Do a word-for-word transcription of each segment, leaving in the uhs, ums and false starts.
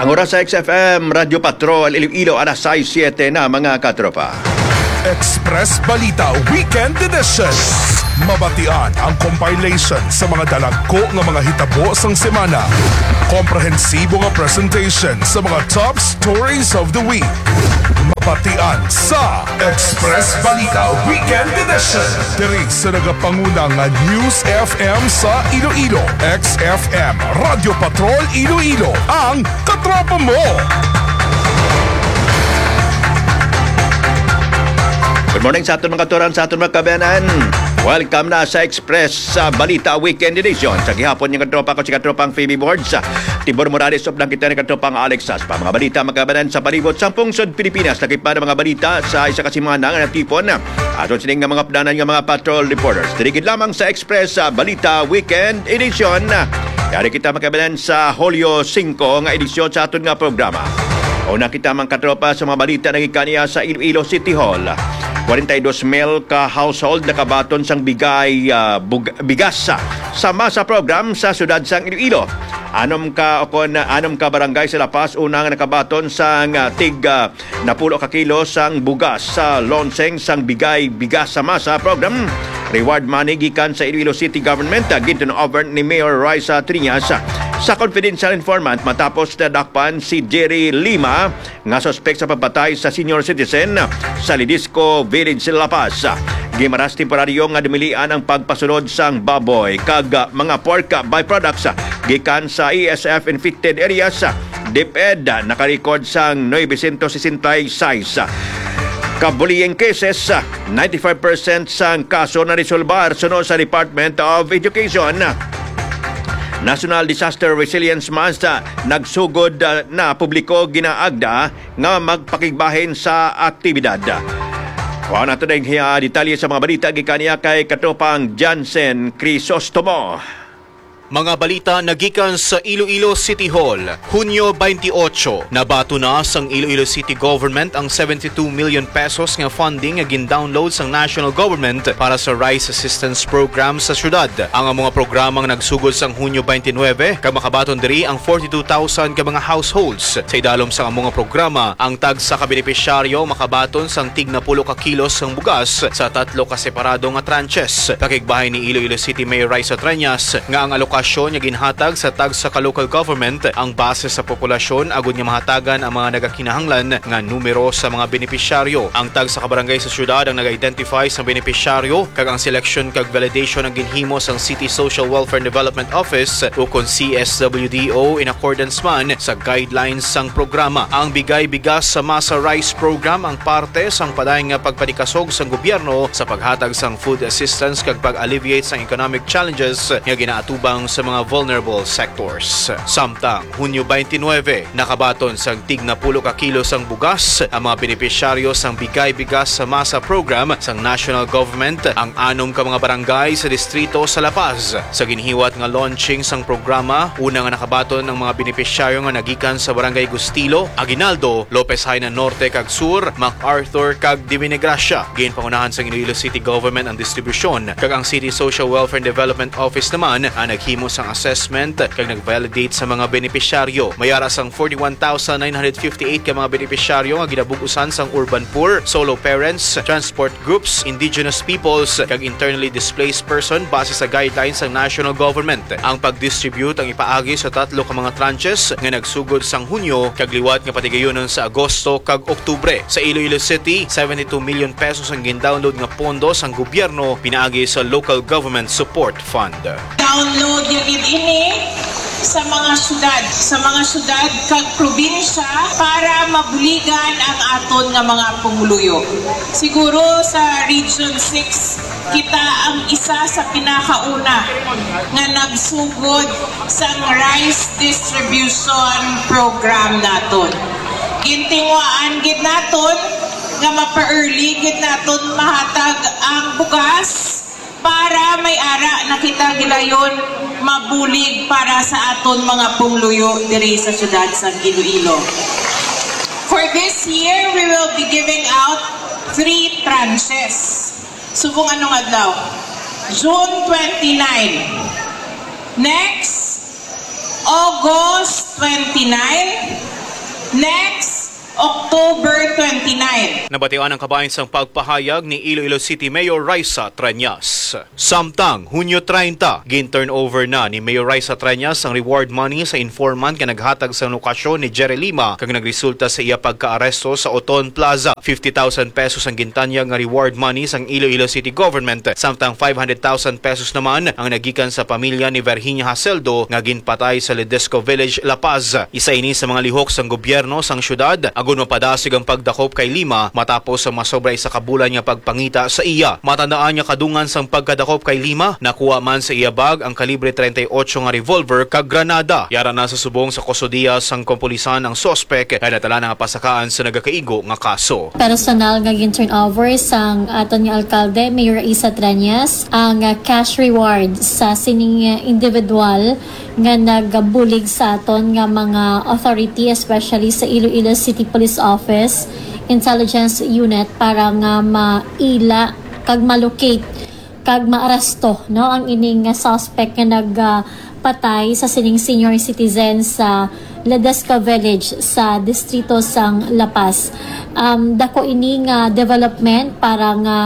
Ang oras sa X F M Radyo Patrol Iloilo, alas sais siete na, mga katropa. Express Balita Weekend Edition. Mabatian ang compilation sa mga dalagko nga mga hitabo sang semana. Komprehensibo nga presentation sa mga top stories of the week. Mabatian sa Express Balita Weekend Edition. Diri sa nagapanguna nga News F M sa Iloilo, X F M, Radyo Patrol Iloilo, ang katropa mo. Good morning sa aton mga katuran, sa aton mga kabayanan. Welcome na sa Express sa Balita Weekend Edition. Sa gihapon, yung katropa ko, si katropang Phoebe Boards. Tibor Morales, updan kita ni katropang Alex Saspa. Mga balita, mga kabayanan, sa palibot sa pungsod Pilipinas. Lagi pa ng mga balita sa isa ka semana nga natipon. Aton sining nga mga updanan nga mga patrol reporters. Diri gid lamang sa Express sa Balita Weekend Edition. Yari kita, mga kabayanan, sa Hulyo singko nga edisyon sa aton nga programa. Una kita, mga katropa, sa mga balita nga gikan niya sa Iloilo City Hall. Forty-two mil ka household nakabaton sang bigay, ah, bug-, bigas sa, sa masa program sa siyudad sang Iloilo. Anom ka, o kon anom ka barangay sa La Paz una nga nakabaton sang, ah, tig, ah, napulo ka kilo sang bugas sa launching sang Bigay Bigas sa Masa program. Reward money gikan sa Iloilo City Government, ah, ginturn over ni Mayor Raisa Triñas sa confidential informant matapos nadakpan si Jerry Lima nga suspek sa pagpatay sa senior citizen sa Lidisco Village, La Paz. Gimaras temporaryo nga dumilian ang pagpasulod sang baboy kag mga pork byproducts gikan sa E S F infected areas. DepEd nakarecord sang novecientos sesenta y seis ka bullying cases, ninety-five percent sang kaso na resolbar suno sa Department of Education. National Disaster Resilience Month, ah, nagsugod, ah, na publiko ginaagda nga magpakigbahin sa aktibidad. Kuha nato na yung, ah, detalye sa mga balita gikan niya kay katropang Jansen Crisostomo. Mga balita nagikan sa Iloilo City Hall. Hunyo twenty-eight, nabato na sang Iloilo City Government ang seventy-two million pesos nga funding nga gin-download sang national government para sa Rice Assistance Program sa syudad. Ang mga programang nagsugod sang Hunyo twenty-nine, kag makabaton diri ang forty-two thousand ka mga households. Sa idalom sang amo nga programa, ang tagsa ka benepisyaryo makabaton sang tig napulo ka kilos sang bugas sa tatlo ka separado nga tranches. Pakigbahin ni Iloilo City Mayor Raisa Treñas nga ang alokasyon nga ginhatag sa tagsa ka local government ang base sa populasyon agud nga mahatagan ang mga nagakinahanglan nga numero sa mga benepisyaryo. Ang tagsa ka barangay sa syudad ang nag-identify sang benepisyaryo, kag ang selection kag validation ang ginhimo sang City Social Welfare and Development Office, ukon C S W D O, in accordance man sa guidelines sang programa. Ang Bigay Bigas sa Masa Rice Program ang parte sang padayon nga pagpanikasog sang gobyerno sa paghatag sang food assistance kag pag-alleviate sang economic challenges nga ginaatubang sa mga vulnerable sectors. Samtang Hunyo twenty-nine, nakabaton sang tig napulo ka kilo sang bugas ang mga benepisyaryo sang Bigay Bigas sa Masa Program sang National Government, ang anom ka mga barangay sa distrito sa La Paz. Sa ginhiwat nga launching sang programa, una nga nakabaton ang mga benepisyaryo nga nagikan sa Barangay Gustilo, Aguinaldo, Lopez Jaena Norte kag Sur, MacArthur kag Divinagracia. Ginpangunahan sang Iloilo City Government ang distribusyon, kag ang City Social Welfare and Development Office naman ang naghimo sang assessment kag nag-validate sa mga benepisyaryo. May ara sang forty-one thousand nine hundred fifty-eight ka mga benepisyaryo nga ginabug-usan sang urban poor, solo parents, transport groups, indigenous peoples, kag internally displaced person base sa guidelines sang national government. Ang pag-distribute ang ipaagi sa tatlo ka mga tranches nga nagsugod sang Hunyo kag liwat nga patigayunon sa Agosto kag Oktubre. Sa Iloilo City, seventy-two million pesos ang gin-download nga pondo sang gobyerno pinaagi sa Local Government Support Fund. Download ya gid ini sa mga syudad, sa mga syudad kag probinsya para mabuligan ang aton nga mga pumuluyo. Siguro sa Region six, kita ang isa sa pinakauna nga nagsugod sang rice distribution program naton. Gintinguhaan gid naton nga mapa-early gid naton mahatag ang bugas para may ara na kita gilayon mabulig para sa aton mga pumuluyo diri sa siyudad sa Iloilo. For this year, we will be giving out three tranches. Subong anong adlaw? June twenty-nine. Next, August twenty-nine. Next, October twenty-nine. Nabatian ang kabahin sang pagpahayag ni Iloilo City Mayor Raisa Treñas. Samtang Hunyo treinta, gin-turnover na ni Mayor Raisa Treñas ang reward money sa informant nga naghatag sang lokasyon ni Jerry Lima kag nagresulta sa iya pagkaaresto sa Oton Plaza. Fifty thousand pesos ang gintanyag nga reward money sang Iloilo City Government, samtang five hundred thousand pesos naman ang nagikan sa pamilya ni Virginia Haseldo nga ginpatay sa Ledesco Village, La Paz. Isa ini sa mga lihok sang gobyerno sang syudad agud mapadasig ang pagdakop kay Lima matapos ang masobra isa ka bulan nga pagpangita sa iya. Matandaan nga kadungan sang pagkadakop kay Lima, nakuha man sa iya bag ang kalibre treinta y ocho nga revolver kag granada. Yara na sa subong sa kustodiya sang kapulisan ang suspek nga nadala na nga pasakaan sa nagakaigo nga kaso. Personal nga gin-turnover sang aton nga alkalde, Mayor Raisa Treñas, ang ah, cash reward sa sining ah, individual nga nagabulig sa aton nga mga authority, especially sa Iloilo City Police Office Intelligence Unit, para nga maila kag malocate kag maaresto, no, ang ining nga suspect nga nagpatay sa sining senior citizen sa Ledesco Village sa distrito sang La Paz. Um, dako ini nga development para nga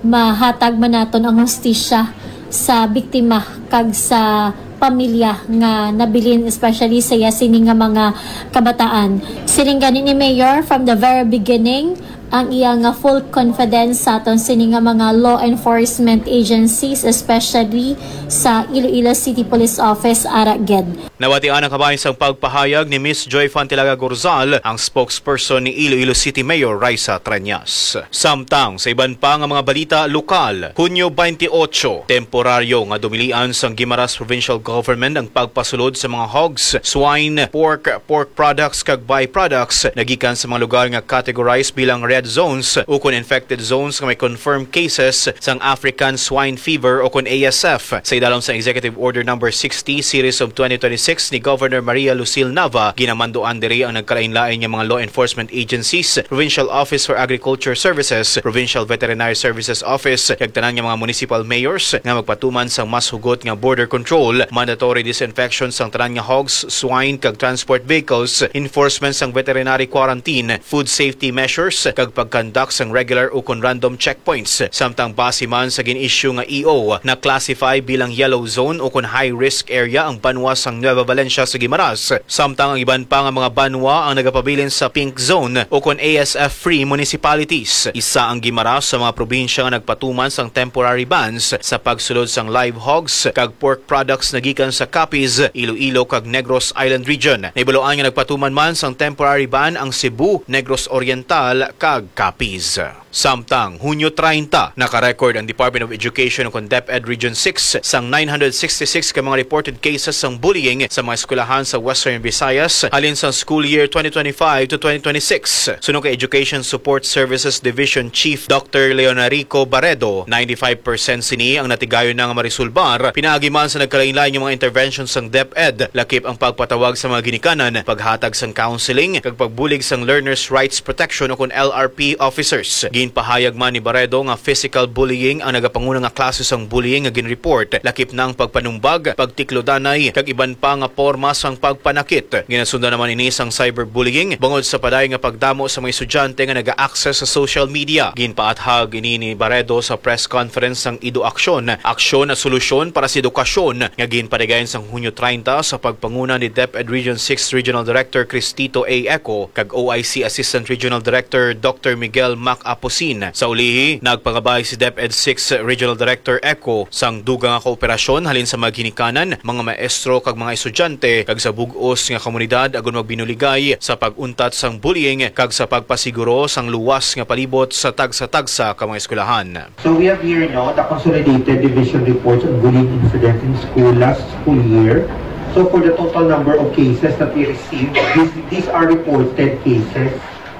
mahatag man naton ang hustisya sa biktima kag sa pamilya nga nabilin, especially sa iya sini nga mga kabataan. Siling gani ni Mayor, from the very beginning, ang iya nga full confidence sa aton sini nga mga law enforcement agencies, especially sa Iloilo City Police Office, ara gid. Nabatian ang kabahin sang pagpahayag ni Miss Joy Fantilaga Gorzal, ang spokesperson ni Iloilo City Mayor Raisa Treñas. Samtang sa iban pa nga mga balita lokal, Hunyo twenty-eight, temporaryo nga dumilian sang Guimaras Provincial Government ang pagpasulod sa mga hogs, swine, pork, pork products kag byproducts nagikan sa mga lugar nga categorized bilang red zones ukon infected zones nga may confirmed cases sang African Swine Fever ukon A S F. Sa idalom sang Executive Order Number sixty Series of twenty twenty-six ni Governor Maria Lucille Nava, ginamanduan diri ang nagkalainlain nga mga law enforcement agencies, Provincial Office for Agriculture Services, Provincial Veterinary Services Office, kag tanan nga mga municipal mayors nga magpatuman sang mas hugot nga border control, mandatory disinfection sang tanan nga hogs, swine, kag transport vehicles, enforcement sang veterinary quarantine, food safety measures, kag pag-conduct sang regular ukon random checkpoints. Samtang base man sa gin-issue nga E O, na-classify bilang yellow zone ukon high risk area ang banwa sang Nueva Valencia sa Guimaras, samtang ang iban pa nga mga banwa ang nagapabilin sa pink zone ukon A S F free municipalities. Isa ang Guimaras sa mga probinsya nga nagpatuman sang temporary bans sa pagsulod sang live hogs kag pork products nagikan sa Capiz, Iloilo, kag Negros Island Region. Nahibaluan nga nagpatuman man sang temporary ban ang Cebu, Negros Oriental, kag Capiz. Samtang Hunyo treinta, naka-record ang Department of Education ukon DepEd Region six sang nine hundred sixty-six ka mga reported cases sang bullying sa mga eskwelahan sa Western Visayas halin sa school year twenty twenty-five to twenty twenty-six. Suno kay Education Support Services Division Chief Doctor Leonarico Barredo, ninety-five percent sini ang natigayon na nga maresolbar pinaagi man sa nagkalainlain nga mga interventions sang DepEd, lakip ang pagpatawag sa mga ginikanan, paghatag sang counseling, kag pagbulig sang Learners' Rights Protection ukon L R P officers. Ginpahayag man ni Barredo nga physical bullying ang nagapanguna nga klase sang bullying nga ginreport, lakip na ang pagpanumbag, pagtiklodanay, kag iban pa nga porma sang pagpanakit. Ginasundan naman ini sang cyberbullying bangod sa padayon nga pagdamo sa mga estudyante nga naga-access sa social media. Ginpaathag ini ni Barredo sa press conference sang Edo Aksyon, Aksyon at Solusyon para sa Edukasyon, nga ginpanigayon sang Hunyo treinta sa pagpanguna ni DepEd Region six Regional Director Cristito A. Eco kag O I C Assistant Regional Director Doctor Miguel Mac Apusin. Sa ulihi, nagpangabay si DepEd six Regional Director Eco sang dugang nga kooperasyon halin sa mga ginikanan, mga maestro kag mga estudyante, kag sa bug-os nga komunidad agud magbinuligay sa pag-untat sang bullying kag sa pagpasiguro sang luwas nga palibot sa tagsa-tagsa ka mga eskwelahan. So we have here, no, the consolidated division reports on bullying incidents in school last school year. So for the total number of cases that we received, these, these are reported cases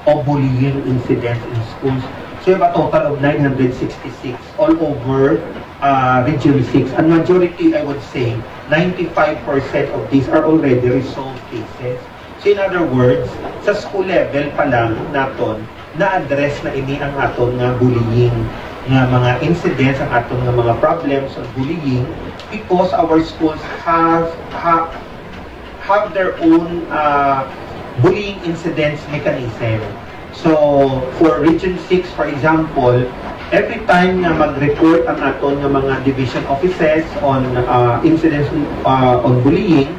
of bullying incidents in schools. So we have a total of nine hundred sixty-six all over uh, Region six. And majority, I would say, ninety-five percent of these are already resolved cases. So in other words, sa school level pa lang naton, na-address na ini ang aton nga bullying, nga mga incidents, ang aton nga mga problems on bullying, because our schools have ha, have their own uh, bullying incidents mechanism. So, for Region six, for example, every time nga mag-report ang aton nga mga division offices on uh, incidents uh, on bullying,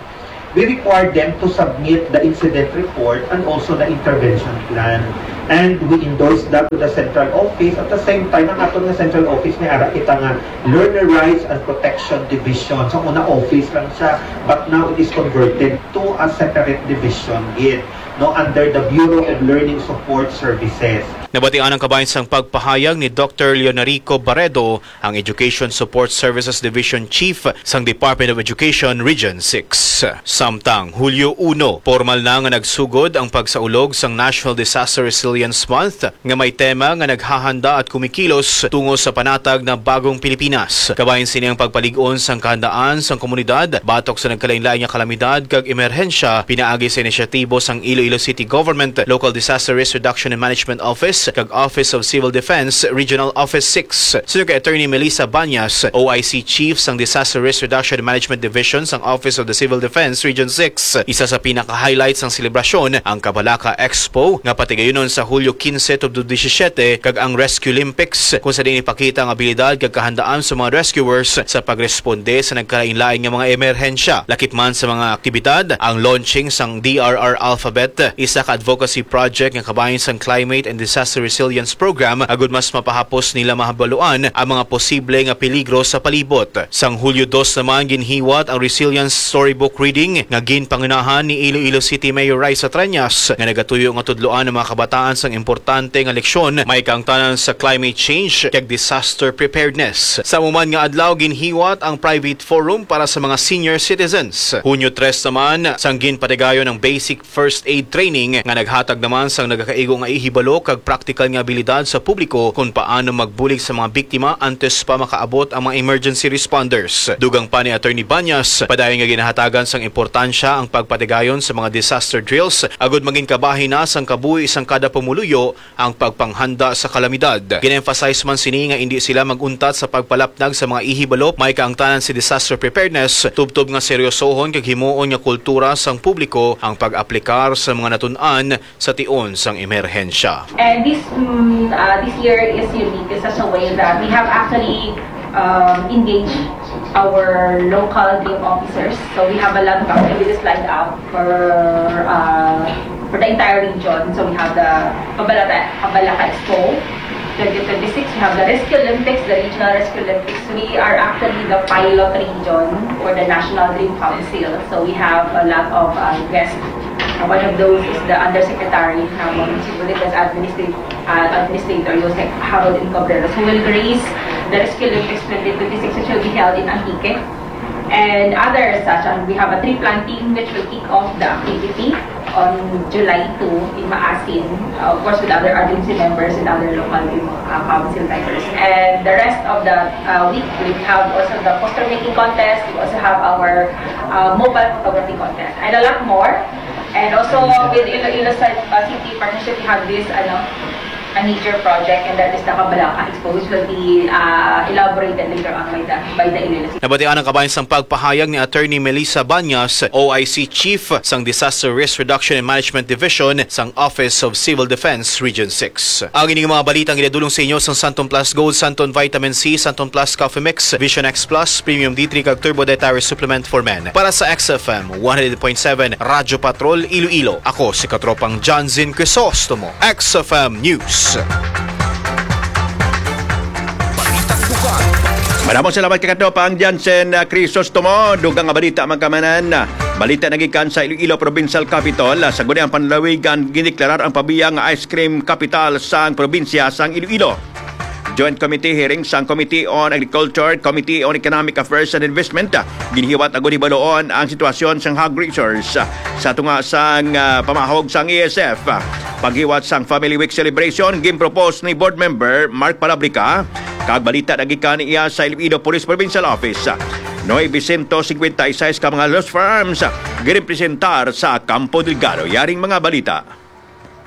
we require them to submit the incident report and also the intervention plan. And we endorse that to the central office. At the same time, ang aton nga central office, may ara kita nga Learner Rights and Protection Division. Sa una, office lang siya, but now it is converted to a separate division gid, no, under the Bureau of Learning Support Services. Nabatian ang kabahin sang pagpahayag ni Doctor Leonarico Barredo, ang Education Support Services Division Chief sang Department of Education Region six. Samtang Hulyo uno, pormal na nga nagsugod ang pagsaulog sang National Disaster Resilience Month, nga may tema nga naghahanda at kumikilos tungo sa panatag na bagong Pilipinas. Kabahin sini ang pagpalig-on sang kahandaan sang komunidad batok sa nagkalainlain nga kalamidad kag emerhensya, pinaagi sa inisyatibo sang Iloilo City Government Local Disaster Risk Reduction and Management Office kag Office of Civil Defense Regional Office six. Suno kay Attorney Melissa Banyas, O I C Chief sang Disaster Risk Reduction and Management Division sang Office of the Civil Defense Region six, isa sa pinaka-highlights sang selebrasyon ang Kabalaka Expo nga patigayunon sa Hulyo quince tubtob disisiete kag ang Rescue Olympics, kung sa diin ipakita ang abilidad kag kahandaan sa mga rescuers sa pagresponde sa nagkalainlain nga mga emerhensya. Lakip man sa mga aktibidad, ang launching sang D R R Alphabet, isa ka advocacy project nga kabahin sang Climate and Disaster Resilience Program, agud mas mapahapos nila mahabaluan ang mga posible nga peligro sa palibot. Sang Hulyo dos naman, ginhiwat ang Resilience Storybook Reading nga ginpangunahan ni Iloilo City Mayor Raisa Treñas, nga nagatuyo nga tudloan ang mga kabataan sang importante nga leksyon may kaangtanan sa climate change kag disaster preparedness. Sa amo man nga adlaw, ginhiwat ang private forum para sa mga senior citizens. Hunyo tres naman, sang ginpatigayon ang basic first aid training nga naghatag naman sang nagakaigo nga ihibalo kag praktikal nga abilidad sa publiko kon paano magbulig sa mga biktima antes pa makaabot ang mga emergency responders. Dugang pa ni Attorney Banyas, padayon nga ginahatagan sang importansya ang pagpatigayon sa mga disaster drills agud mangin kabahin na sang kabuhi sang kada pumuluyo ang pagpanghanda sa kalamidad. Gin-emphasize man sini nga indi sila mag-untat sa pagpalapnag sa mga ihibalo may kaangtanan sa disaster preparedness, tubtob nga seryosohon kag himuon nga kultura sang publiko ang pag-aplikar sa mga natun-an sa tion sang emerhensya. And this mm, uh, this year is unique in such a way that we have actually um, engaged our local game officers. So we have a lot of activities lined up for uh, for the entire region. So we have the Kabalaka, Kabalaka Expo twenty twenty-six. We have the Rescue Olympics, the Regional Rescue Olympics. We are actually the pilot region for the National Dream Council. So we have a lot of uh, guests. Uh, one of those is the Undersecretary Ramon Sibulitas, Administrative uh, Administrator Jose Harold Incobrero, who will grace the Rescue Olympics twenty twenty-six, which will be held in Antique. And other such, and we have a tree planting which will kick off the activity on July two in Maasin, uh, of course with other agency members and other local uh, council members. And the rest of the uh, week, we have also the poster making contest, we also have our uh, mobile photography contest, and a lot more. And also with Iloilo City Partnership, we have this ano, a major project, and that is the Kabalaka Expo, which will be uh, elaborated later on by the by the Iloilo City. Nabatian ang kabahin sang pagpahayag ni Attorney Melissa Banyas, O I C Chief sang Disaster Risk Reduction and Management Division sang Office of Civil Defense Region six. Ang ining mga balita ang ginadulong sa inyo sang Santon Plus Gold, Santon Vitamin C, Santon Plus Coffee Mix, Vision X Plus, Premium D three kag Turbo Dietary Supplement for Men. Para sa X F M one hundred point seven Radyo Patrol Iloilo, ako si Katropang Johnson Crisostomo, X F M News. Madamong salamat kay Katropang Johnson uh, Crisostomo. Dugang nga balita, mga kamanan. Balita nagikan sa Iloilo Provincial Capitol. Uh, sa guni ang panlalawigan, gindeklarar ang Pavia nga ice cream capital sang probinsya sang Iloilo. Joint Committee hearing sang Committee on Agriculture, Committee on Economic Affairs and Investment, ah, ginhiwat agud hibaluon ang sitwasyon sang hog resource, ah, sa tunga sang, ah, pamahog sang A S F. Paghiwat sang Family Week celebration, ginpropose ni Board Member Mark Palabrica, kag balita nagikan iya sa Iloilo Police Provincial Office. Noy Vicento, singkwenta y seis ka mga loose firearms, ginpresentar sa Campo Delgado. Yaring mga balita.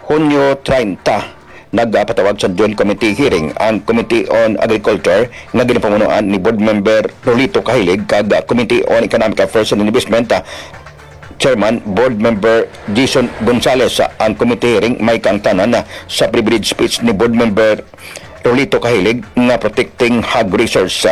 Hunyo treinta, nagapatawag sa Joint Committee hearing ang Committee on Agriculture nga ginapamunuan ni Board Member Rolito Kahilig kag Committee on Economic Affairs and Investment, ah, Chairman, Board Member Jason Gonzales. Ang committee hearing may kaangtanan sa privilege speech ni Board Member Rolito Kahilig nga protecting hog research.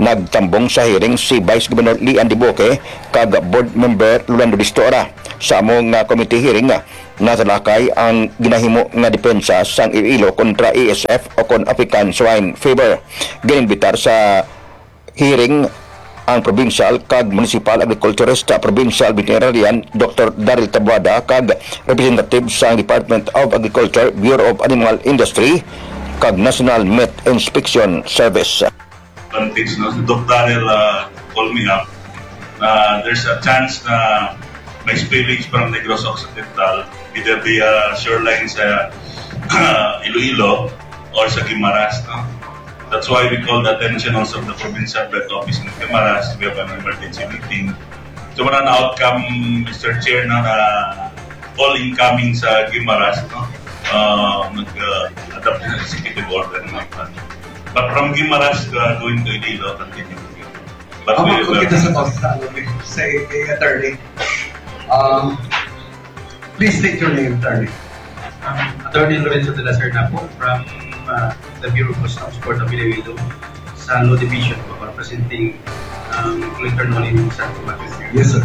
Nagtambong sa hearing si Vice Governor Lian Diboque kag Board Member Rolando Distora. Sa amo nga committee hearing, natalakay ang ginahimo nga depensa sang Iloilo kontra A S F o kon African Swine Fever. Ginimbitar sa hearing ang provincial kag municipal agriculturist, provincial veterinarian Doctor Daryl Tabuada kag representative sa Department of Agriculture, Bureau of Animal Industry, kag National Meat Inspection Service. Advantage, no? Si Doc Daryl, uh, call me up. Uh, there's a chance na may spillage from Negros Occidental, either via shoreline sa Iloilo or sa Guimaras, no? That's why we call the attention also of the provincial health office in Guimaras. We have an emergency meeting. So, wala na outcome, Mister Chair, no, na all incoming sa Guimaras, no? Uh, mag, uh, adapt na sa executive order naman. But from Guimaras, uh, going to Iloilo, continue. But Ako we po will kita sa boses sa, ano, sa, kay attorney. Um, please state your name, attorney. Um, Attorney Lorenzo de la Serna po from, uh, the Bureau of Customs, Port of Iloilo, sa Law Division po, representing, um, Collector Nolly Santo Matthews. Yes, sir.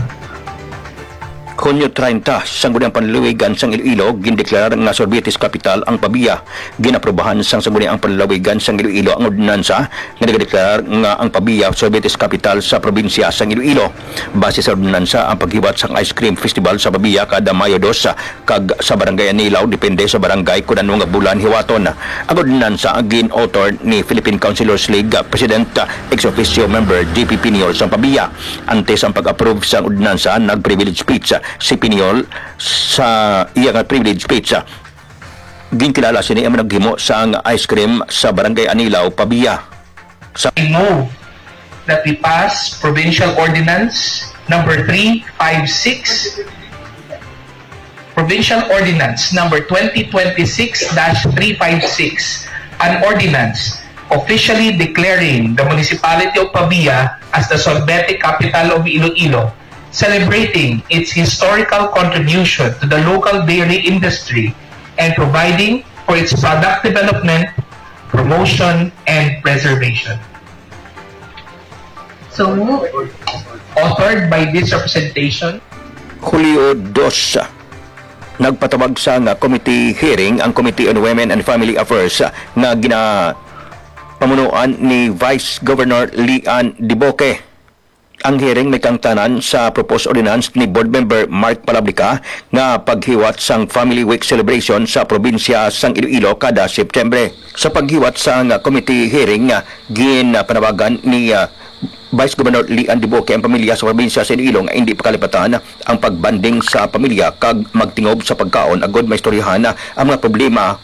Hunyo treinta, Sangguniang Panlalawigan sang Iloilo, gindeklarar nga sorbetes kapital ang Pavia. Ginaprobahan sang Sangguniang Panlalawigan sang Iloilo ang ordinansa nga nagadeklarar nga ang Pavia sorbetes kapital sa probinsya sang Iloilo. Base sa ordinansa, ang paghiwat sang ice cream festival sa Pavia kada Mayo dos kag sa Barangay Anilao depende sa barangay kon ano nga bulan hiwaton. Ang ordinansa gin-author ni Philippine Councilors League President, ex officio member J P Piniol sang Pavia. Antes ang pag-approve sang ordinansa, nag-privilege speech si Piniol. Sa iya nga privilege speech, ginkilala sini ang naghimo sang ice cream sa Barangay Anilao, Pavia. Sa I move that we pass Provincial Ordinance Number three five six, Provincial Ordinance Number twenty twenty-six dash three five six, an ordinance officially declaring the Municipality of Pavia as the Sorbete Capital of Iloilo, celebrating its historical contribution to the local dairy industry and providing for its product development, promotion, and preservation. So moved. Authored by this representation. Hulyo dos, nagpatawag sang committee hearing ang Committee on Women and Family Affairs nga ginapamunuan ni Vice Governor Lian Diboque. Ang hearing may kaangtanan sa proposed ordinance ni Board Member Mark Palablica nga paghiwat sang Family Week celebration sa probinsya sang Iloilo kada September. Sa paghiwat sang committee hearing, ginpanawagan ni, ah, Vice Governor Lian Diboque ang pamilya sa probinsya sa Iloilo nga indi pakalipatan ang pagbanding sa pamilya kag magtingob sa pagkaon agod maistoryahan ang mga problema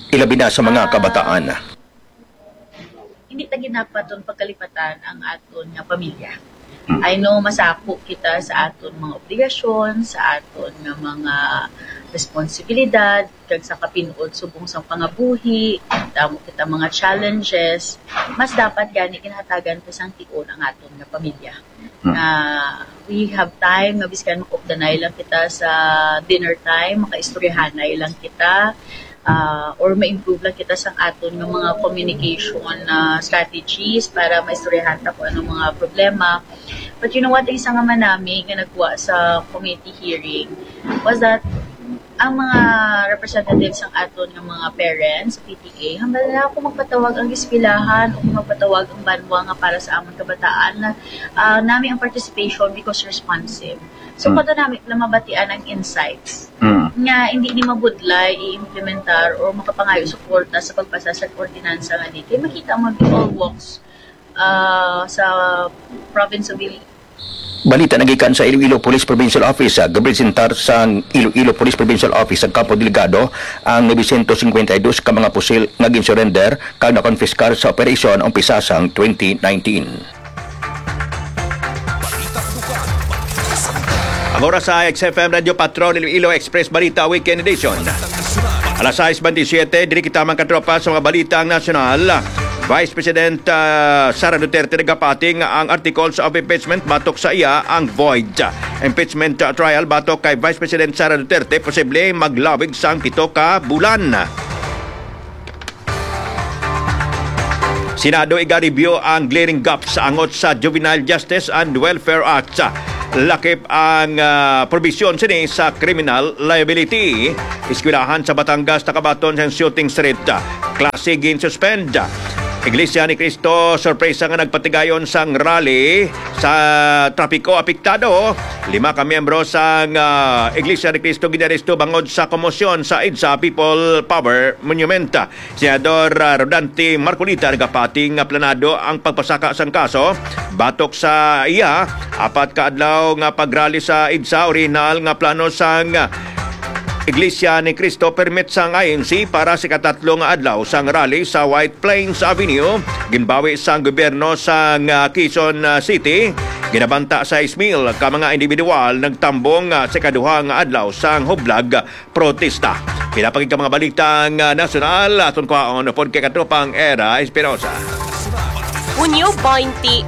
ilabi na sa mga kabataan. Hindi ta ginapaton pagkalipatan ang aton nga pamilya. I know masako kita sa aton mga obligasyon, sa aton nga mga responsibilidad, kag sa kapinuot subong sang pangabuhi, damo kita mga challenges. Mas dapat gani ginhatagan ta sang tion ang aton nga pamilya. Hmm. Nga we have time nga biskan makupdanay lang kita sa dinner time, makaistoryahanay lang kita, ah, or ma-improve lang kita sang aton nga mga communication, ah, strategies para maistoryahan ta kung anong mga problema. But you know what, ang isa nga manami nga nagwa sa committee hearing was that ang mga representatives sang aton nga mga parents sa P T A, hambal na ako magpatawag ang eskwelahan o magpatawag ang banwa nga para sa amon kabataan na, ah, nami ang participation because responsive. So, Mm. pwede nami lang mabatian ang insights Mm. nga hindi ni mabudlay i-implementar o makapangayo suporta sa pagpasa sa ordinansa nga di kay makita mo all walks, ah, sa province of Iloilo. Balita nagikan sa Iloilo Police Provincial Office, ah, gapresentar sang Iloilo Police Provincial Office sa Campo Delgado ang novecientos cincuenta y dos ka mga pusil nga ginsurrender kag nakonfiskar sa operasyon umpisa sang twenty nineteen. Ang oras sa X F M Radio Patrol Iloilo Express Balita Weekend Edition. Alas sais bentisiete, diri kita, mga katropa, sa mga balitang nasyonal. Vice President, ah, Sara Duterte nagapati nga ang articles of impeachment batok sa iya ang void. Impeachment, ah, trial batok kay Vice President Sara Duterte posible maglawig sang pito ka bulan. Senado iga-review ang glaring gaps angot sa Juvenile Justice and Welfare Act. Lakip ang, ah, probisyon sini sa criminal liability. Eskwelahan sa Batangas nakabaton sa shooting threat. Klase gin-suspend. Iglesia ni Cristo sorpresa nga nagpatigayon sang rally sa trapiko apektado. Lima ka miyembro sang, ah, Iglesia ni Cristo ginaresto bangod sa komosyon sa EDSA People Power Monument. Senador, ah, Rodante Marcoleta nagapati nga planado ang pagpasaka sang kaso. Batok sa iya, apat ka adlaw nga pagrally sa EDSA, orihinal nga plano sang Iglesia ni Cristo permit sang I N C para sa ikatatlo nga adlaw sang rally sa White Plains Avenue. Ginbawi sang gobyerno sang, ah, Quezon, ah, City. Ginabanta sais mil ka mga individual nagtambong, ah, sa ikaduha nga adlaw sang hublag protesta. Pila pa gid ka mga balita nga nasyonal, aton kwaon upod kay katropang Era Espinosa. Hunyo twenty-eight,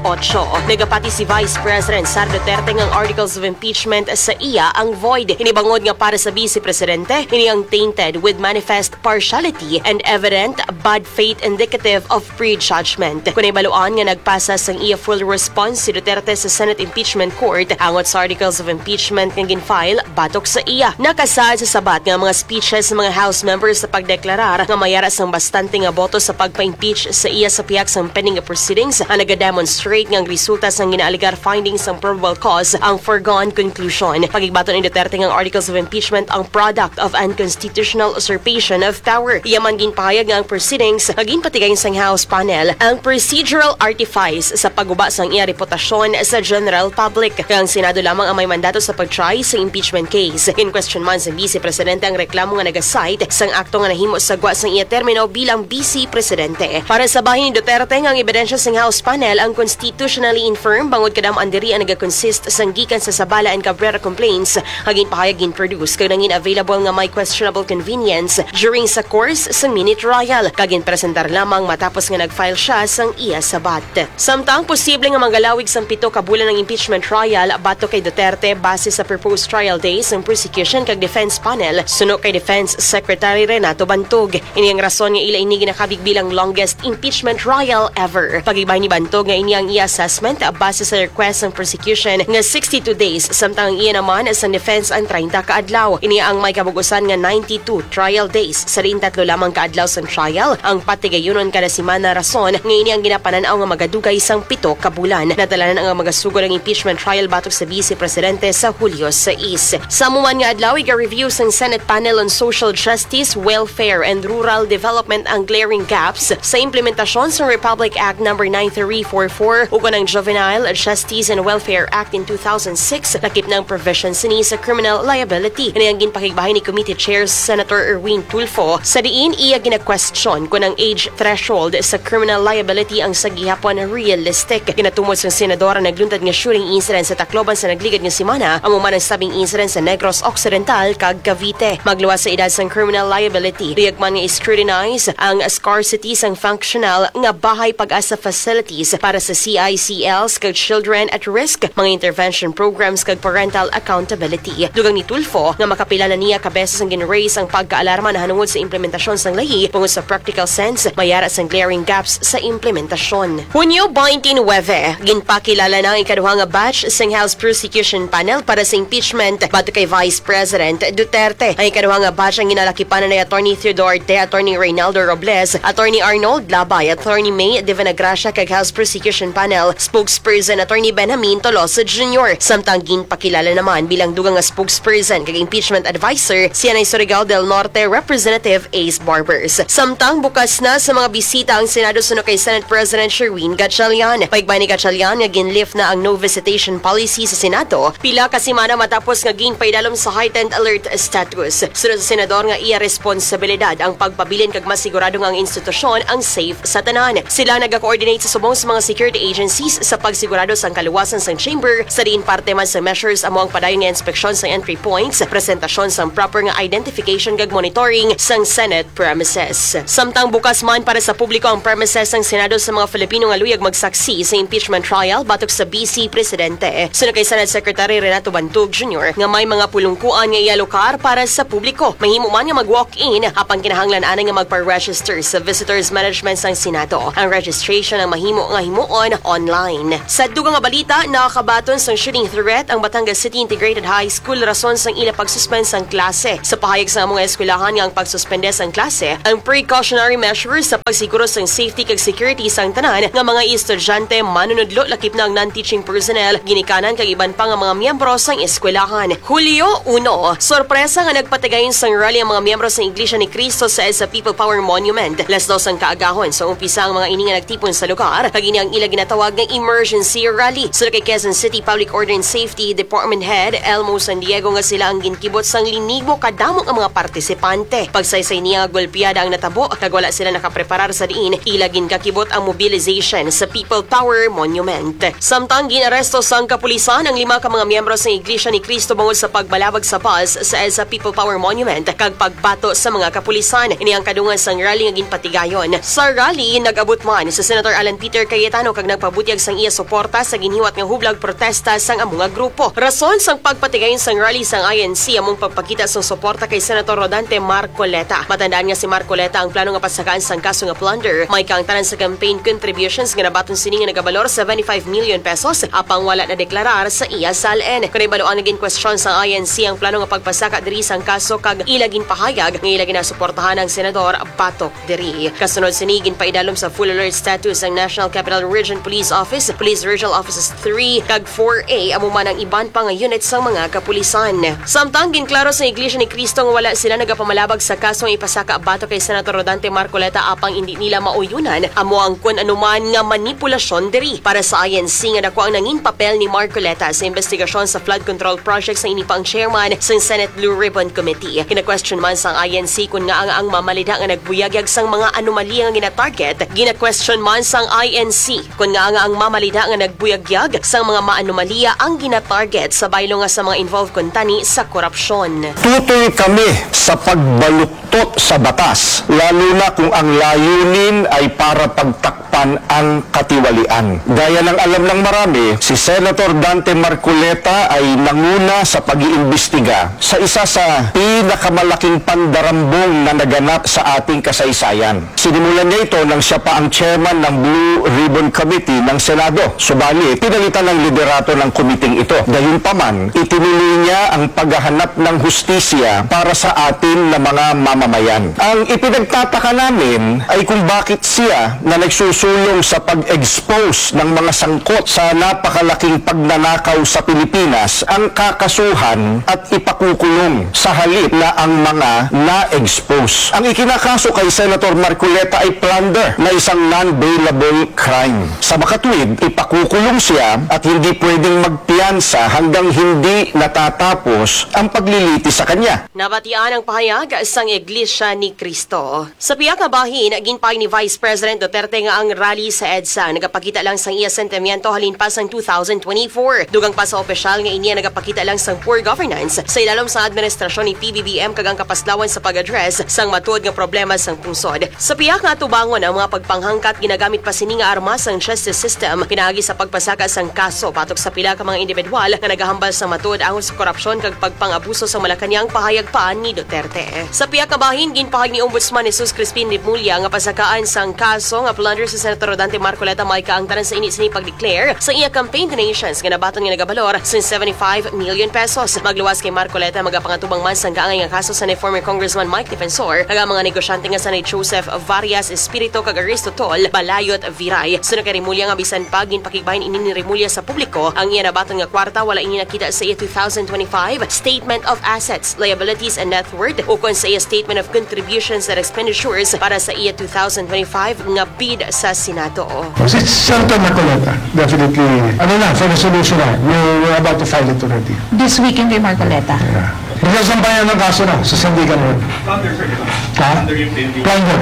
nagapati si Vice President Sara Duterte nga ang articles of impeachment sa iya ang void. Ini bangod nga para sa Vice Presidente, ini ang tainted with manifest partiality and evident bad faith indicative of prejudgment. Kon nahibaluan nga nagpasa sang iya full response si Duterte sa Senate Impeachment Court angot sa articles of impeachment nga gin-file batok sa iya. Nakasaad sa sabat nga mga speeches sa mga House members sa pagdeklarar nga may ara sang bastante nga boto sa pagpa-impeach sa iya sa pihak sang pending proceedings ang nagademonstrate nga ang resulta sang ginaalegar findings sang probable cause ang foregone conclusion. Pagigbaton ni Duterte nga ang articles of impeachment ang product of unconstitutional usurpation of power. Iya man ginpahayag nga ang proceedings nga ginpatigayon sang House panel ang procedural artifice sa pagguba sang iya reputasyon sa general public, kag ang Senado lamang ang may mandato sa pag-try sa impeachment case. Gin-question man sang Vice Presidente ang reklamo nga naga-cite sang akto nga nahimo sa gwa sang iya termino bilang Vice Presidente. Para sa bahin ni Duterte nga ang ebidensya sang House panel ang constitutionally infirm bangod kadam-an diri ang naga-consist sang gikan sa Zabala and Cabrera complaints nga ginpahayag, gin-produce kag nangin available nga may questionable convenience during sa course sang mini trial kag ginpresentar lamang matapos nga nag-file siya sang iya sabat. Samtang posible nga manggalawig sang pito ka bulan ang impeachment trial batok kay Duterte base sa proposed trial days sang prosecution kag defense panel suno kay Defense Secretary Renato Bantog. Ini ang rason nga ila ini ginakabig bilang longest impeachment trial ever. Pagibay ni Bantog nga ini ang iya assessment base sa request sang prosecution nga sixty-two days, samtang ang iya naman sang defense ang treinta ka adlaw. Ini ang may kabug-usan nga ninety-two trial days. Sa diin tatlo lamang ka adlaw sang trial ang patigayunon kada semana, rason nga ini ang ginapanan-aw nga magadugay sang pito ka bulan. Nadalanan ang magasugod ang impeachment trial batok sa Vice Presidente sa Hulyo sais. Sa amo man nga adlaw, iga-review sang Senate Panel on Social Justice, Welfare, and Rural Development ang glaring gaps sa implementasyon sang Republic Act Number nine three four four ukon ang Juvenile Justice and Welfare Act in two thousand six, lakip na ang provision sini sa criminal liability. Ini ang ginpakigbahay ni Committee Chair Senator Erwin Tulfo, sa diin iya gina-question kon ang age threshold sa criminal liability ang sa gihapon realistic. Ginatumod sang senador ang nagluntad nga shooting incident sa Tacloban sa nagligad nga semana, amo man ang stabbing incident sa Negros Occidental kag Cavite. Magluwas sa edad sang criminal liability, lihok man nga i-scrutinize ang scarcity sang functional nga bahay pag-asa facilities para sa C I C Ls kag children at risk, mga intervention programs kag parental accountability. Dugang ni Tulfo nga makapila na niya ka beses ang gin-raise ang pagkaalarma nahanungod sa implementasyon sang layi tungod sa practical sense, may ara sang glaring gaps sa implementasyon. Hunyo twenty-nine, ginpakilala na ang ikaduha nga batch sang House Prosecution Panel para sa impeachment batok kay Vice President Duterte. Ang ikaduha nga batch ang ginalakipan ni Attorney Theo Duarte, Attorney Reynaldo Robles, Attorney Arnold Labay, Attorney May de Venagracia kag House Prosecution Panel Spokesperson Attorney Benjamin Tolosa Junior. Samtang ginpakilala naman bilang dugang nga spokesperson kag impeachment adviser si Anay Surigao del Norte Representative Ace Barbers. Samtang bukas na sa mga bisita ang Senado suno kay Senate President Sherwin Gatchalian. Paigbay ni Gatchalian nga gin-lift na ang no visitation policy sa Senado pila ka semana matapos nga ginpaidalom sa heightened alert status. Sunod sa senador nga iya responsibilidad ang pagpabilin kag masigurado nga ang institusyon ang safe sa tanan. Sila nagakoordinate sa subong sa mga security agencies sa pagsigurado sang kaluwasan sang chamber, sa diin parte man sa measures amo ang padayon nga inspeksyon sang entry points, presentasyon sang proper nga identification kag monitoring sang Senate premises. Samtang bukas man para sa publiko ang premises sang Senado sa mga Filipino nga luyag magsaksi sa impeachment trial batok sa Vice Presidente. Suno kay Senate Secretary Renato Bantog Junior nga may mga pulungkuan nga ialokar para sa publiko, mahimo man nga mag-walk-in, apang kinahanglan anay nga magpa-register sa visitors management sang Senado. Ang registration ang mahimo nga himuon online. Sa dugang nga balita, nakakabaton sang shooting threat ang Batangas City Integrated High School rason sang ila pag-suspend sang klase. Sa pahayag sa among eskwelahan nga ang pagsuspende sang klase ang precautionary measures sa pagsiguro sang safety kag security sang tanan nga mga estudyante, manunudlo, lakip na ang non-teaching personnel, ginikanan kag iban pa nga mga miyembro sang eskwelahan. Hulyo uno, sorpresa nga nagpatigayon sang rally ang mga miyembro sang Iglesia ni Cristo sa EDSA People Power Monument. Las dos ang kaagahon sa umpisa ang mga ini nga nagtipon sa lugar, kag ini ang ila ginatawag nga emergency rally. Suno kay Quezon City Public Order and Safety Department Head Elmo San Diego nga sila ang ginkibot sang linibo kadamo nga mga partisipante. Pagsaysay niya nga golpiada ang natabo kag wala sila nakapreparar sa diin ila ginkakibot ang mobilization sa People Power Monument. Samtang gin-aresto sang kapulisan ang lima ka mga miyembro sang Iglesia ni Cristo bangod sa pagbalabag sa bus sa EDSA People Power Monument kag pagbato sa mga kapulisan. Ini ang kadungan sang rally nga ginpatigayon. Sa rally, nag-abot man si Senator Alan Peter Cayetano kag nagpabutyag sang iya suporta sa ginhiwat nga hublag protesta sang amo nga grupo. Rason sang pagpatigayon sang rally sang I N C among pagpakita sang suporta kay Senator Rodante Marcoleta. Matandaan nga si Marcoleta ang plano nga pasakaan sang kaso nga plunder. May kaangtanan sa campaign contributions nga nabaton sini nga nagabalor seventy-five million pesos, apang wala nadeklarar sa iya SALN. Kon ibaluan nga ginkwestiyon sang I N C ang plano nga pagpasaka diri sang kaso kag ila ginpahayag nga ila ginasuportahan ang senador batok diri. Kasunod sini, ginpaidalom sa full alert status ang National Capital Region Police Office, Police Regional Offices three, kag four A, amo man ang iban pa nga unit sang mga kapulisan. Samtang ginklaro sa Iglesia ni Cristo nga wala sila nagapamalabag sa kaso nga ipasaka batok kay Senator Rodante Marcoleta, apang indi nila mauyonan amo ang kun ano man nga manipulasyon diri. Para sa I N C nga dako ang nangin papel ni Marcoleta sa investigasyon sa flood control project, sa ini pa ang chairman sang Senate Blue Ribbon Committee. Gina-question man sang I N C kun ngaa nga ang mamalida nga nagbuyagyag sang mga anomalya nga gina-target. Gina-question man sang I N C kun ngaa nga ang mamalida nga nagbuyagyag sang mga maanomalya ang gina-target sa baylo nga sa mga involved kuntani sa korupsyon. Tutoy kami sa pagbaluktot sa batas, lalo na kung ang layunin ay para pagtakpan ang katiwalian. Gaya ng alam ng marami, si Senator Dante Marcoleta ay nanguna sa pag-iimbestiga sa isa sa pinakamalaking pandarambong na naganap sa ating kasaysayan. Sinimulan niya ito nang siya pa ang chairman ng Blue Ribbon Committee ng Senado. Subalit, pinalitan ang liderato ng komiteng ito. Gayunpaman, itinuloy niya ang paghahanap ng hustisya para sa atin na mga mamamayan. Ang ipinagtataka namin ay kung bakit siya na nagsusulong sa pag-expose ng mga sangkot sa napakalaking pagnanakaw sa Pilipinas ang kakasuhan at ipakukulong sa halip na ang mga na-expose. Ang ikinakaso kay Senator Marcoleta ay plunder na isang non-bailable crime. Sa makatuwid, ipakukulong siya at hindi pwedeng magpiyansa hanggang hindi natatapos ang paglilitis sa kanya. Nabatian ang pahayag sang Iglesia ni Cristo. Sa pihak nga bahin, ginpahayag ni Vice President Duterte nga ang rally sa EDSA nagapakita lang sang iya sentimiento halin pa sang two thousand twenty-four. Dugang pa sa opisyal nga ini nagapakita lang sang poor governance sa ilalom sang administrasyon ni P B B M kag ang kapaslawan sa pag-address sang matuod nga problema sang pungsod. Sa pihak nga atubangon, ang mga pagpanghangkat ginagamit pa sini nga arma sang justice system pinaagi sa pagpasaka sang kaso batok sa pila ka mga individual nga nagahambal sang matuod angot sa korupsyon kag pagpang-abuso sa Malacañang, pahayag pa ni Duterte. Sa pihak nga bahin, ginpahayag ni Ombudsman Jesus Crispin Remulla nga pasakaan sang kaso nga plunder si Senator Rodante Marcoleta may kaangtanan sa ini sini pag-declare sa iya campaign donations nga nabaton nga nagabalor sa seventy-five million pesos. Magluwas kay Marcoleta, magapangatubang man sang kaangay nga kaso sa ni former Congressman Mike Defensor kag ang mga negosyante nga sa ni Joseph Varias Espirito kag Aristo Tol Balayot Viray. Suno kay Remulla nga bisan pa ginpakigbahin ini ni Remulla sa publiko, ang iya nabaton nga kwarta wala ini nakita sa iya two thousand twenty-five Statement of Assets, Liabilities, and Net Worth ukon sa iya Statement of Contributions and Expenditures para sa iya two thousand twenty-five nga bid sa Senado. Si Senator Marcoleta, definitely, ano na, for resolution na. We're, we're about to file it already. This weekend kay Marcoleta. Yeah. Magsasampayan ng kaso na sa Sandigan Road. Plunder, sir, di ba? Ha? Plunder yung P N P. Plunder.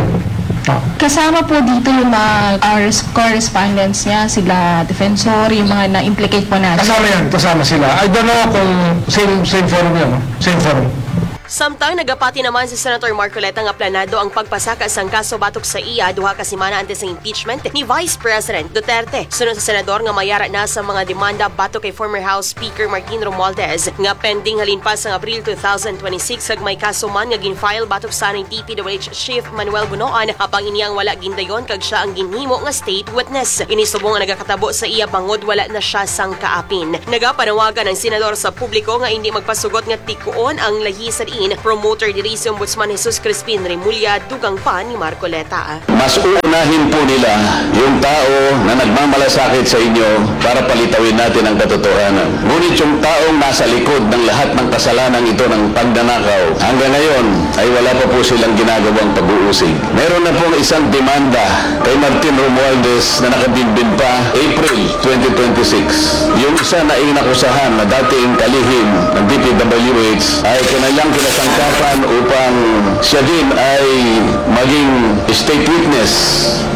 Ah. Kasama po dito yung mga uh, res- correspondents niya, sila defensor, yung mga na-implicate po natin. Kasama yan, kasama sila. I don't know kung same same forum yan, no? Same forum. Samtang nagapati naman si Senator Marcoleta nga planado ang pagpasaka sang kaso batok sa iya duha ka semana antes sang impeachment ni Vice President Duterte. Suno sa senador nga mayara na sa mga demanda batok kay former House Speaker Martin Romualdez nga pending halin pa sang Abril two thousand twenty-six kag may kaso man nga gin-file batok sa D P W H Chief Manuel Bonoan, apang ini ang wala gindayon kag siya ang ginhimo nga state witness. Ini subong nga nagakatabo sa iya bangod wala na siya sang kaapin. Nagapanawagan ang senador sa publiko nga indi magpasugot nga tikuon ang lahi sa diin promoter diri si Ombudsman Jesus Crispin Remulla, dugang pa ni Marcoleta. Mas uunahin po nila yung tao na nagmamalasakit sa inyo para palitawin natin ang katotohanan. Ngunit yung taong nasa likod ng lahat ng kasalanang ito ng pagnanakaw, hanggang ngayon ay wala pa po silang ginagawang pag-uusig. Meron na pong isang demanda kay Martin Romualdez na nakabinbin pa April twenty twenty-six. Yung isa na inakusahan na dating kalihim ng D P W H ay kanilang kinasangkapan upang siya din ay maging state witness.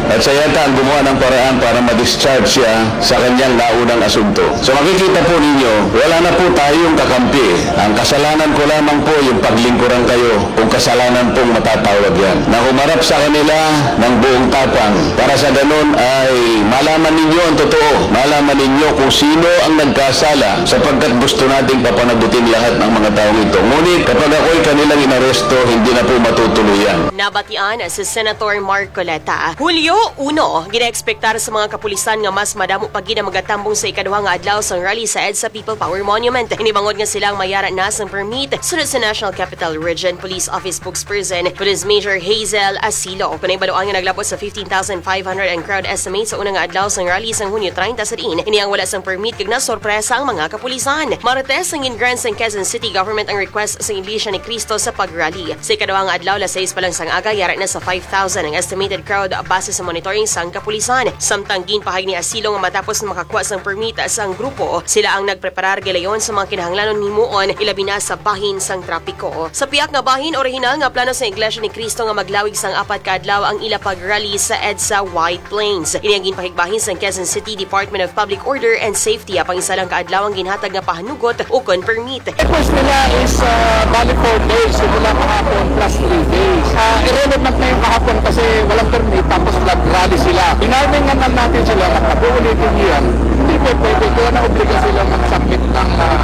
At siya yata ang gumawa ng paraan para ma-discharge siya sa kanyang naunang asunto. So makikita po ninyo, wala na po tayong kakampi. Ang kasalanan ko lamang po yung paglingkuran kayo kung kasalanan pong matatawag yan. Na humarap sa kanila ng buong tapang para sa ganun ay malaman ninyo ang totoo. Malaman ninyo kung sino ang nagkasala sapagkat gusto nating papanagutin lahat ng mga taong ito. Ngunit kapag ako'y kanilang inaresto, hindi na po matutuloy yan. Nabatian si Senator Marcoleta. Hulyo uno, ginaekspektar sa mga kapulisan nga mas madamo pa gid ang magatambong sa ikaduha nga adlaw sang rally sa EDSA People Power Monument. Ini bangod nga sila ang mayara na sang permit, sunod sa National Capital Region Police Office spokesperson, Police Major Hazel Asilo. Panay baluan nga naglabot sa fifteen thousand five hundred ang crowd estimate sa una nga adlaw sang rally sang Hunyo treinta sa diin ini ang wala sang permit kag nasorpresa ang mga kapulisan. Martes, ang gin-grant sang Quezon City Government ang request sang Iglesia ni Cristo sa pag-rally. Sa ikaduha nga adlaw, alas sais pa lang sang aga, yara na sa five thousand ang estimated crowd base sa monitoring sang kapulisan. Samtang ginpahayag ni Asilo nga matapos na makakuha sang permit sang grupo, sila ang nagpreparar gilayon sa mga kinahanglanon himuon, ilabi na sa bahin sang trapiko. Sa pihak nga bahin, orihinal nga plano sang Iglesia ni Cristo nga maglawig sang apat ka adlaw ang ila pag-rally sa EDSA White Plains. Ini ang ginpahigbahin sang Quezon City Department of Public Order and Safety, apang isa lang ka adlaw ang ginhatag nga pahanugot ukon permit. Request nila is uh, valid four days, simula kahapon plus three days. Uh, irrelevant na yung kahapon kasi walang permit tapos nag-rally sila. Pinarmingan lang natin sila na pag-uulitin niyan, hindi po pwede. Kaya na-obliga sila mag-submit ng, uh,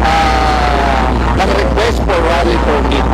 uh, ng request for rally permit.